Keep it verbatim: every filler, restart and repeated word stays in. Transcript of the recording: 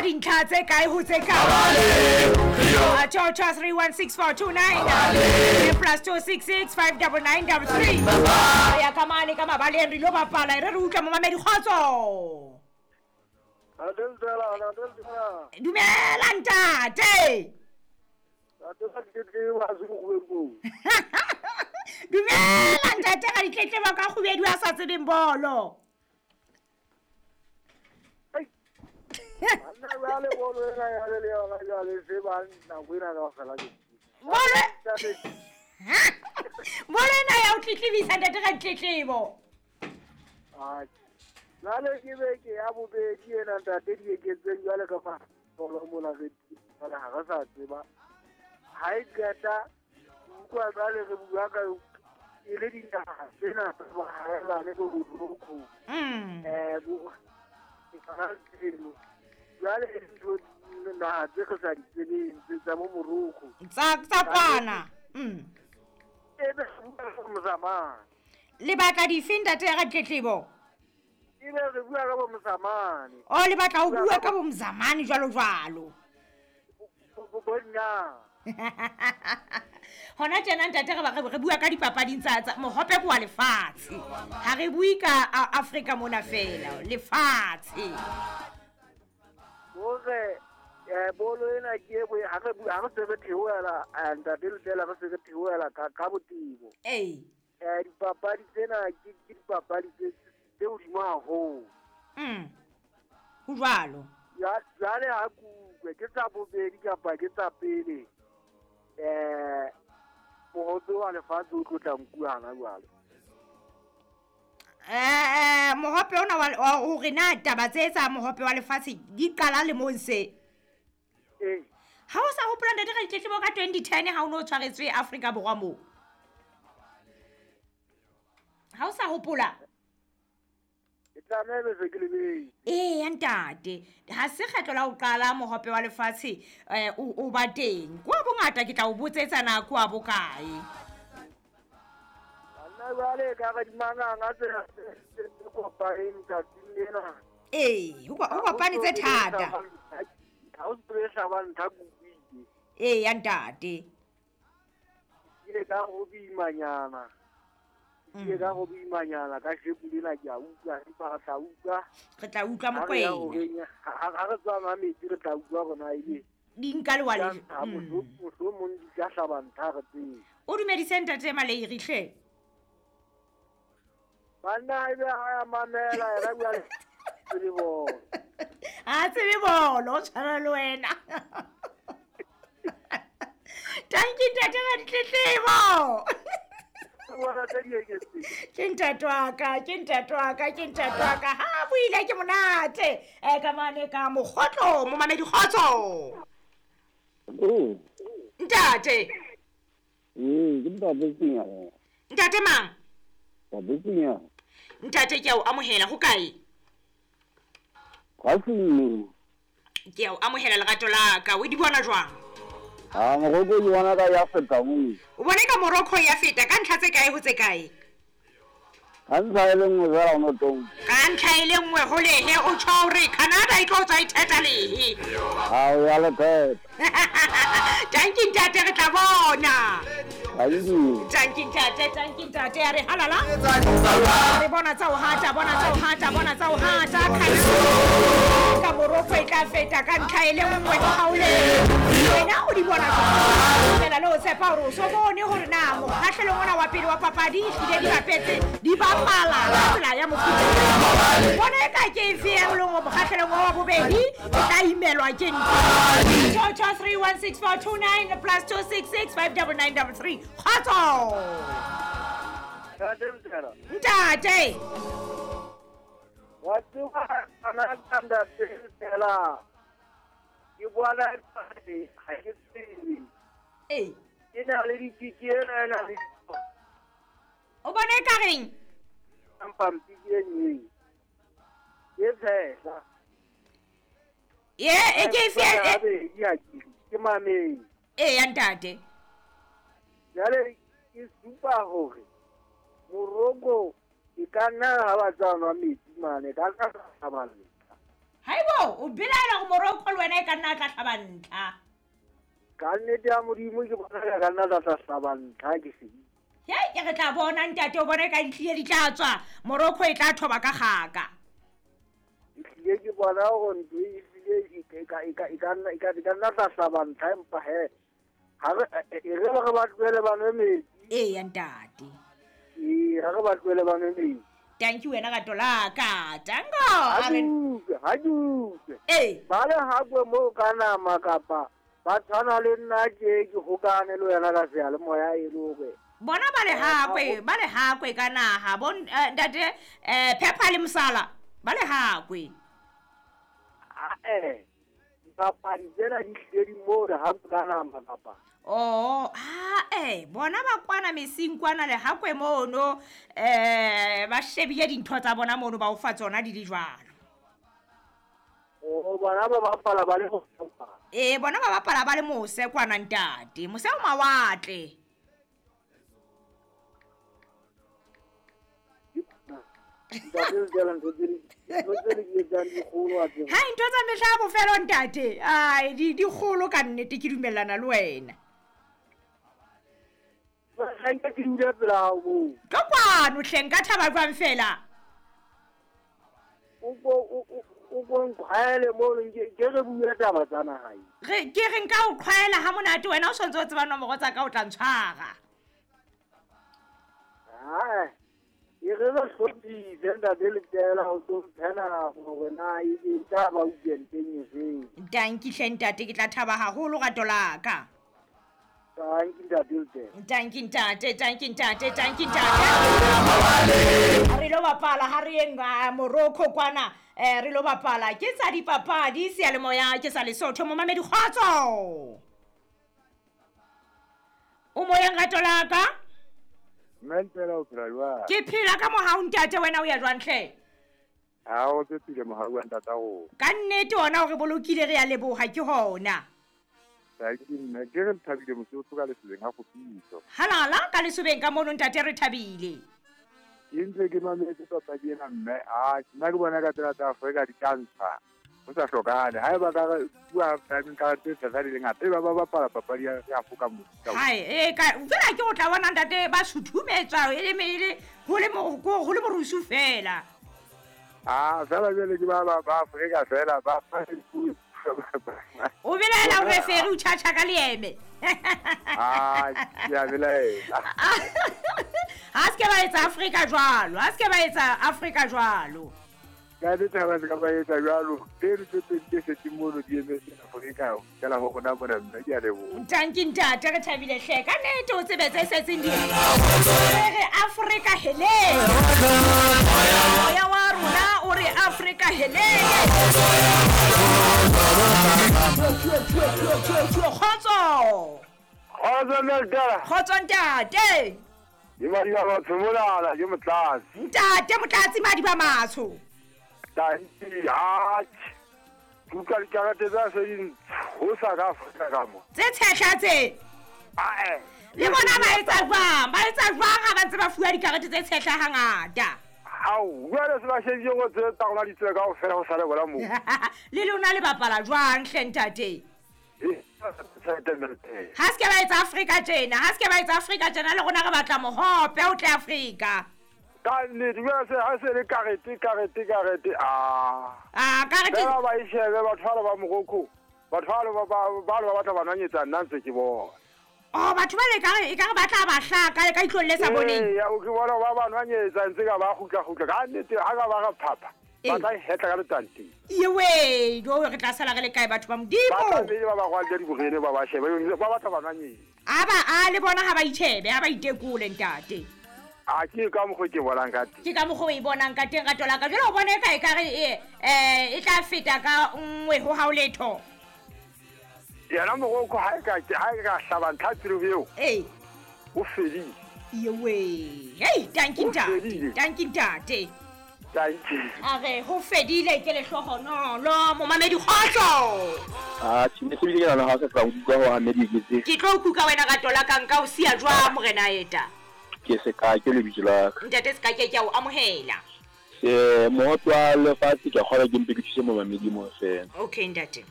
Ka dintlha tse kae ho tse kae? Two two three one six four two nine plus two six six five double nine double three. Ya ka mane ka mabaleng re lo bapala re re utlwa momamedi kgotso. Dumela ntate. Dumela ntate ga ditletlebo ka kgobedi a sa tsebeng bolo. Bolo Bolo ena ya o tletlebisa ntate ga ditletlebo. Jwale ke beke ya bobedi ena ntate di eketseng jwale ka fa bolo mola re jwale ha re sa tseba. Ha e qeta utlwa jwale re bua ka e le dinaha tsena tsa bohaelane bo Morocco. Eh bo jwale ntho naha tse re sa di tsebeng tse tsa bo Morocco. Tsa tsa kwana. Mm. E be bua ka Mozambique. Lebaka dife ntate ya ditletlebo? Ebe re bua ka bo Mozambique. Oh le batla ho bua ka bo Mozambique jwalo jwalo. Bona. Hona tjena ntate re ba re bua ka dipapading tsa tsa mohope kwa lefatshe. Ha re bue ka Afrika mona fela, lefatshe. Hore eh bolo ena ke e ha re ha re se re theohela ntate le re se re theohela ka ka botebo. Eh. Eh dipapadi tsena ke ke dipapadi tse tse hodimo haholo. Mm. Ho jwalo. Ya jwale ha kutlwe ke tsa bobedi kapa ke tsa pele. Eh mohope wa lefatshe o tlo tla nkuwa hana jwale. Eh mohope ona wa hore na taba tse tsa mohope wa lefatshe di qala lemong se. Eh. Ha o sa hopola ntate ka ditletlebo ka twenty ten ha o no tshwaretswe Afrika Borwa moo. Ha o sa hopola? Eh ya ntate ha se kgetlo la ho qala mohope wa lefatshe eh o ba teng kwa bongata ke tla o botsetsa na kwa bokae. Banna jwale ka re dimanganga tsena tse kopaneng tsatsing lena. Eh ho kopane tse thata. Ha o tsebe hlaba ntha kukwile. Eh ya ntate. Ke ka go boimanyana. Ke ka go boimanyana ka shepu lena ke a utlwa empa re tla utlwa. Re tla utlwa mokwena. Ha re tswa ma metsi re tla utlwa rona ebe. Di nka le wa le. Mohlomong di ka hlaba ntha re tsebe. O dumedise ntate Maleiri hle. Banna ebe ha ya mamela yena bua le tsebe bolo. Ha tsebe bolo o tshwana le wena. Tanki ntate ga ditletlebo. Ke ntate wa ka, ke ntate wa ka, ke ntate wa ka. Ha buile ke monate. Eh ka mane ka mokgotlo, momamedi kgotso. Mm. Ntate. Mm, ke ntate Sinya. Ntate mang? Ntate Sinya. Ntate ke a o amohela ho kae? Kwa Sinya. Ke a o amohela lerato la ka. O di bona jwang? Ah, Morocco ke bona ka ya feta mo. O bone ka Morocco ya feta ka ntlha tse kae ho tse kae? Ka ntlha e le nngwe fela ono tong. Ka ntlha e le nngwe ho lehe o tjho hore Canada e tlo tswa e theta lehe. Ha o ya le theta. Tanki ntate re tla bona. Tanki. Tanki ntate, tanki ntate ya re halala. Re bona tsa o hata, bona tsa o hata, bona tsa o hata. Canada ka Morocco e tla feta ka ntlha e le nngwe ho haole. Wena o di bona fela le o tshepa hore o so bone hore na mokgahlelong ona wa pele wa papadi ehlile di bapetse di bapala ka tsela ya mofuta. Bona e ka ke efe e leng mokgahlelong wa bobedi e tla imelwa ke ntho. Two two three one six four two nine plus two six six five double nine double three. Kgotso. Ntate. Wa tseba ana ntate fela. Ke bona ha ke tsebe. Eh. Ke na le dikiki ena ena le. O bona e ka reng? Pampiri e nngwe. Ke tshehla. Ye, e ke efe e ya ke mameng. Eh ya ntate. Jwale ke supa hore Morocco e ka nna ha ba tswa nwa metsi mane ka ka ba le. Haibo o belaela go Morocco le wena e ka nna tla hlaba ntlha. Ka nnete ya Modimo ke bona ka nna tla tla hlaba ntlha ke se. Hei ke re tla bona ntate o bone ka ditlile di tla tswa Morocco e tla thoba ka gaka. Ehlile ke bona gore ntho e ehlile e ka e ka e ka nna e ka e ka nna tla hlaba ntlha empa he ha re e re re ba tlohele ba nwe metsi. Eya ntate. Ee ha re ba tlohele ba nwe metsi. Thank you wena ka tolaka. Tango. Ha ke utlwe, ha ke utlwe. Ee. Ba le hakwe moo ka nama kapa ba tshwana le nna ke ke hokane le wena ka seyalemoya e le hore bona ba le hakwe, ba le hakwe ka naha bo ntate eh Pepper le Mosala ba le hakwe. Ah eh dipapadi tsena di hlile di moo re hakwe ka nama kapa. Oh, ah eh bona ba kwana mesing kwana le hakwe mono eh ba shebile dintho tsa bona mono ba o fa tsona di le jwalo. Oh bona ba bapala ba le mose. Eh bona ba bapala ba le mose kwana ntate, mose o mawatle. Ha ntho tsa mehla ya bofelo ntate, ai di di kgolo ka nnete ke dumellana le wena. Ha nka ke dula pela hao moo. Ka kwano hle nka thaba jwang fela. O ko o ko nqhwaele mo ke re bua taba tsa naha. Re ke re nka o qhwaela ha monate wena o sontse o tseba nomoro tsa ka o tla ntshwara. Ah. E re re hlophise ntate Letela o tlo mphela hore na e tla ba weekend-eng efeng. Tanki hle ntate ke tla thaba haholo rato la ka. Tanki ntate Letela. Tanki ntate, tanki ntate, tanki ntate. Re lo bapala ha re yeng Morocco kwana eh re lo bapala ke tsa dipapadi seyalemoya ke sa Lesotho momamedi kgotso. O moyeng rato la ka? Mme Ntela o phela jwang? Ke phela ka mohau ntate wena o ya jwang hle? Ha o tsepile mohau wa ntata rona. Ka nnete ona o re bolokile re ya leboha ke hona. Tanki mme ke re thabile mosotho ka lesobeng ha kgopitso. Halala ka lesobeng ka mono ntate re thabile. Ke ntse ke mametse papadi ena mme a nna ke bona ka tsela tsa Afrika di tla ntsha. Ho sa hlokahale ha eba ka bua timing ka tse tsa di le ngata e ba ba bapala papadi ya Afrika mo. Hai e ka fela ke o tla bona ntate ba suthumetswa e le le ho le ho le morusu fela. Ah fela jwale ke ba ba Afrika fela ba O belaela o referi o tjhatjha ka leeme. Ah ke a belaela. Ha se ke ba etsa Afrika jwalo, ha se ke ba etsa Afrika jwalo. Ka ditaba tse ka ba etsa jwalo tseno tse pedi tse setseng mono di emetse Afrika ka la ho rona mona mme ke a leboha. Tanki ntate re thabile hle ka nnete o tsebe tse setseng di. Re Afrika hele. Moya wa rona o re Afrika hele. Kgotso. Kgotso Ntela. Kgotso ntate. Ke madi ba matsho monana ke Motlatsi. Ntate Motlatsi madi ba matsho. Tanki atjhe. Ke utlwa dikarate tsa se di ntshosa ka Afrika ka mo. Tse tshehla tse. Ae. Le bona ba etsa jwang? Ba etsa jwang ha ba ntse ba fuwa dikarete tse tshehla hangata? Hao, jwale se ba shebile hore tse tsa rona di tswe kaofela ho sale bona moo. Le lona le bapala jwang hle ntate? Ha se ke ba etsa Afrika tjena, ha se ke ba etsa Afrika tjena le rona re batla mohope o tle Afrika. Ka nnete jwale se ha se le karete karete karete ah. Ah karete. Ba ba e shebe batho ba ba Morocco. Batho ba ba ba ba batla ba nwanyetsa nna ntse ke bona. Oh batho ba le ka re e ka re ba tla ba hlaka ka itlong le sa boneng. Eh ya o ke bona ba ba nwanyetsa ntse ka ba kgutla kgutla ka nnete ha ka ba re phapha. Ba tla hetla ka letanteng. Ewe, jo re tla sala re le kae batho ba Modimo? Ba tla be ba ba rwalla diborene ba ba shebe ba batla ba nwanyetsa. A ba a le bona ha ba itjhebe, ha ba itekole ntate. A ke ka mokgo ke bonang ka teng. Ke ka mokgo o e bonang ka teng rato la ka. Jwale o bona e ka e ka re eh e tla feta ka nngwe ho hao letho. Yena Morocco ha e ka ha e ka hlaba ntlha tselo eo. Eh. O fedile. Ewe. Hey, tanki ntate. Tanki ntate. Tanki. A re ho fedile ke lehlohonolo momamedi kgotso. Ah, tjhe se bile ke nana ha se tla nkuka ho Ahmed Iketse. Ke tlo kuka wena rato la ka nka o siya jwang morena eta. Ke se ka ke lebitso la ka. Ntate se ka ke ke a o amohela. Eh mohope wa lefatshe ke a kgolwa ke mpe ke thuse momamedi mo fela. Okay ntate.